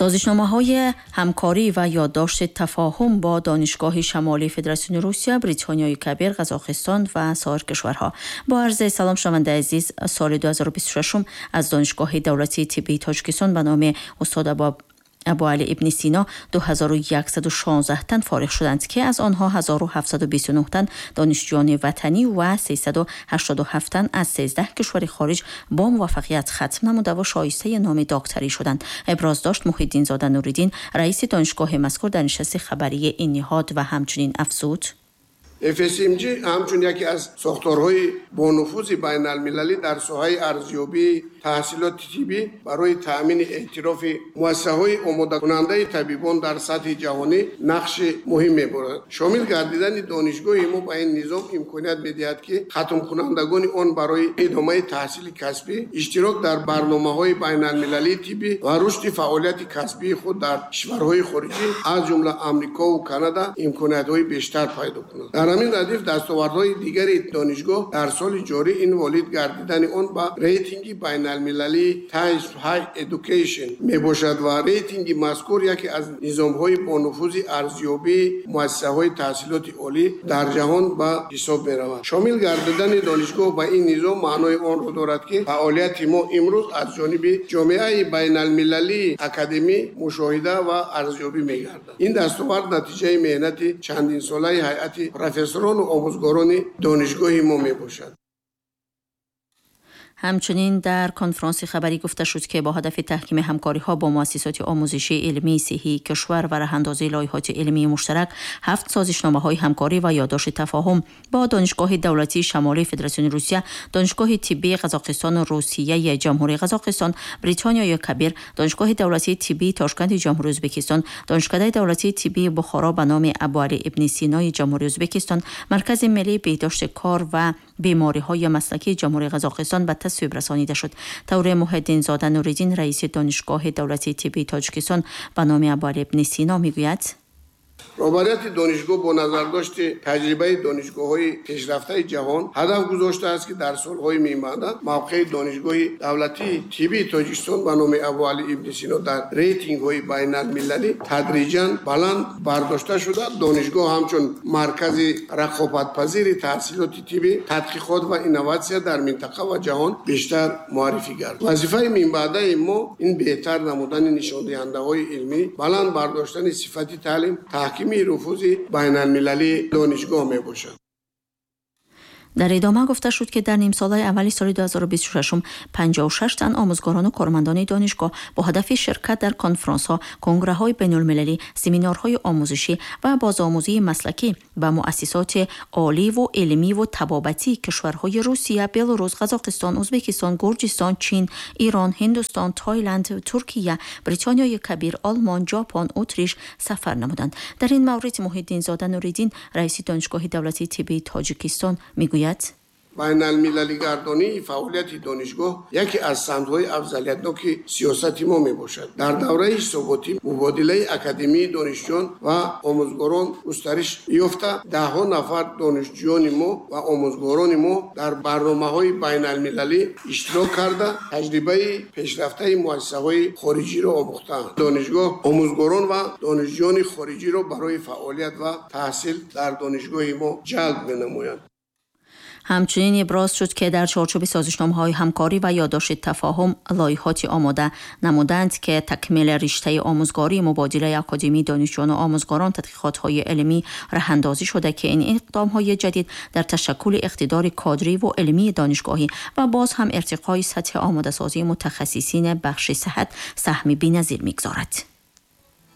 Созишномаҳои ҳамкорӣ ва ёддошти тафоҳум бо Донишгоҳи Шамолии Федератсияи Русия, Бритониёи Кабир, Қазоқистон ва соир кишварҳо. Бо арзи салом, шунавандаи азиз, соли 2026 аз Донишгоҳи давлатии тиббии Тоҷикистон ба номи устод Абуалӣ ибни Сино 2116 тан фориғ шуданд, ки аз онҳо 1729 тан донишҷӯёни ватанӣ ва 387 тан аз 13 кишвари хориҷ бо муваффақият хатм намуда ва шоистаи номи докторӣ шуданд. Иброз дошт Муҳиддинзода Нуриддин, раиси донишгоҳи мазкур, дар нишасти хабарии ин ниҳод ва ҳамчунин афзуд: FSMG ҳамчун яке аз сохторҳои бонуфузи байналмилалӣ дар соҳаи арзёбии таҳсилоти тиббӣ барои таъмини эътирофи муассисаҳои омодакунандаи табибон дар сатҳи ҷаҳонӣ нақши муҳим мебарад. Шомил гардидани донишгоҳи мо ба ин низом имконият медиҳад, ки хатмкунандагони он барои идомаи таҳсили касбӣ, иштирок дар барномаҳои байналмилалии тиббӣ ва рушди фаъолияти касбии худ дар кишварҳои хориҷӣ, аз ҷумла Амрикову Канада, имкониятҳои бештар пайдо кунанд. Дар ҳамин радиф дастовардҳои дигари донишгоҳ дар соли ҷорӣ ин ворид гардидани он ба рейтинги байналмилалии Times Higher Education мебошад ва рейтинги мазкур яке аз низомҳои бонуфузи арзёбии муассисаҳои таҳсилоти олӣ дар ҷаҳон ба ҳисоб меравад. Шомил гардидани донишгоҳ ба ин низом маънои онро дорад, ки фаъолияти мо имрӯз аз ҷониби ҷомеаи байналмилалии академӣ мушоҳида ва арзёбӣ мегардад. Ин дастовард натиҷаи меҳнати чандинсолаи ҳайати профессорону омӯзгорони донишгоҳи мо мебошад. Ҳамчунин дар конфронси хабарӣ гуфта шуд, ки бо ҳадафи таҳкими ҳамкориҳо бо муассисоти омӯзишии илмии сиҳҳии кишвар ва раҳандозии лоиҳоти илмии муштарак ҳафт созишномаҳои ҳамкорӣ ва ёддошти тафоҳум бо Донишгоҳи давлатии Шамолии Федератсияи Русия, Донишгоҳи тиббии Қазоқистону Русияи Ҷумҳурии Қазоқистон, Бритониёи Кабир, Донишгоҳи давлатии тиббии Тошканди Ҷумҳурии Ӯзбекистон, Донишкадаи давлатии тиббии Бухоро ба номи Абуалӣ ибни Синои Ҷумҳурии Ӯзбекистон, Маркази миллии беҳдошти кор ва бемориҳои маслакии Ҷумҳурии Қазоқистон ба тасвиб расонида шуд. Тавре Муҳиддинзода Нуриддин, раиси Донишгоҳи давлатии тиббии Тоҷикистон ба номи Абуалӣ ибни Сино, мегӯяд: Роҳбарияти донишгоҳ бо назардошти таҷрибаи донишгоҳҳои пешрафтаи ҷаҳон ҳадаф гузоштааст, ки дар солҳои минбаъда мавқеи Донишгоҳи давлатии тиббии Тоҷикистон ба номи Абуалӣ ибни Сино дар рейтингҳои байналмилалӣ тадриҷан баланд бардошта шуда, донишгоҳ ҳамчун маркази рақобатпазири таҳсилоти тиббӣ, тадқиқот ва инноватсия дар минтақа ва ҷаҳон бештар муаррифӣ гардад. Вазифаи минбаъдаи мо ин беҳтар намудани нишондиҳандаҳои илмӣ, баланд бардоштани сифати таълим, таҳкими нуфузи байналмилалии донишгоҳ мебошад. Дар идома гуфта шуд, ки дар нимсолаи аввали соли 2026 56 тан омӯзгорону кормандони донишгоҳ бо ҳадафи ширкат дар конфронсҳо, конграҳои байнулмилалӣ, семинарҳои омӯзишӣ ва бозомӯзии маслакӣ ба муассисоти оливу илмиву табобатии кишварҳои Русия, Беларус, Қазоқистон, Ӯзбекистон, Гурҷистон, Чин, Ирон, Ҳиндустон, Тайланд, Туркия, Бритониёи Кабир, Олмон, Ҷопон, Утриш сафар намуданд. Дар ин маврид Муҳиддинзода Нуриддин, раиси Донишгоҳи давлатии тиббии Тоҷикистон, мегӯяд: Байналмилалигардонии фаъолияти донишгоҳ яке аз самтҳои афзалиятноки сиёсати мо мебошад. Дар давраи ҳисоботӣ мубодилаи академии донишҷӯён ва омӯзгорон густариш ёфта, даҳҳо нафар донишҷӯёни мо ва омӯзгорони мо дар барномаҳои байналмилалӣ иштирок карда, таҷрибаи пешрафтаи муассисаҳои хориҷиро омӯхтаанд. Донишгоҳ омӯзгорон ва донишҷӯёни хориҷиро барои фаъолият ва таҳсил дар донишгоҳи мо ҷалб менамояд. Ҳамчунин иброз шуд, ки дар чорчӯби созишномаҳои ҳамкорӣ ва ёддошти тафоҳум лоиҳоти омода намуданд, ки такмили риштаи омӯзгорӣ, мубодилаи академии донишҷӯёну омӯзгорон, тадқиқотҳои илмӣ раҳандозӣ шуда, ки ин иқдомҳои ҷадид дар ташаккули иқтидори кадриву илмии донишгоҳӣ ва боз ҳам иртиқои сатҳи омодасозии мутахассисини бахши сиҳат саҳми беназир мегузорад.